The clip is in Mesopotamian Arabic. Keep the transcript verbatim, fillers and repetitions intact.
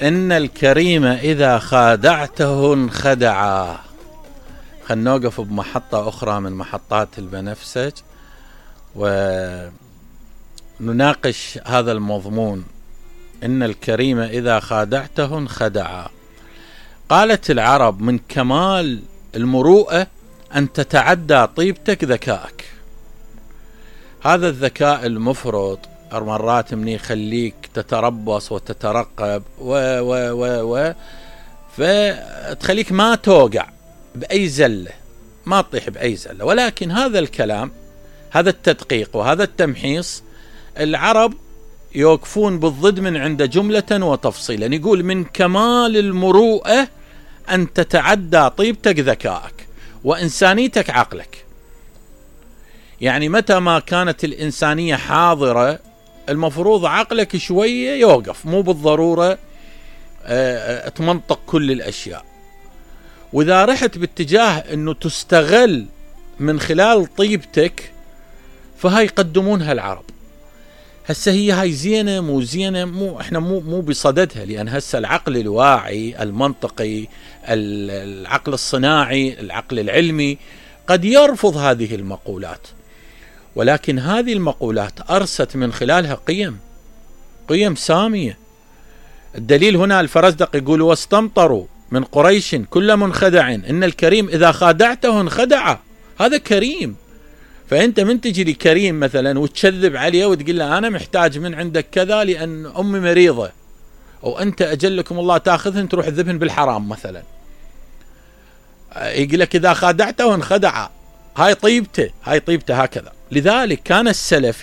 إن الكريم إذا خادعته انخدعا. خلنا نوقف بمحطة أخرى من محطات البنفسج ونناقش هذا المضمون. إن الكريم إذا خادعته انخدعا. قالت العرب: من كمال المروءة أن تتعدى طيبتك ذكائك. هذا الذكاء المفرط مرات من يخليك تتربص وتترقب و و و و فتخليك ما توقع بأي زلة، ما تطيح بأي زلة. ولكن هذا الكلام، هذا التدقيق وهذا التمحيص، العرب يوقفون بالضد من عند جملة وتفصيلا. يقول: من كمال المروءة أن تتعدى طيبتك ذكائك وإنسانيتك عقلك. يعني متى ما كانت الإنسانية حاضرة المفروض عقلك شوية يوقف، مو بالضرورة تمنطق كل الأشياء. وإذا رحت باتجاه أنه تستغل من خلال طيبتك فهاي يقدمونها العرب. هسه هي هاي زينة مو زينة، مو احنا مو مو بصددها، لأن هسه العقل الواعي المنطقي، العقل الصناعي، العقل العلمي قد يرفض هذه المقولات، ولكن هذه المقولات أرست من خلالها قيم قيم سامية. الدليل هنا الفرزدق يقول: واستمطروا من قريش كل منخدع إن الكريم إذا خادعته انخدع. هذا كريم. فأنت من تجي لي كريم مثلا وتشذب عليه وتقول له أنا محتاج من عندك كذا لأن أمي مريضة، أو أنت أجلكم الله تأخذهن تروح تذبهن بالحرام مثلا، يقول لك إذا خادعته انخدع. هاي طيبته، هاي طيبته هكذا. لذلك كان السلف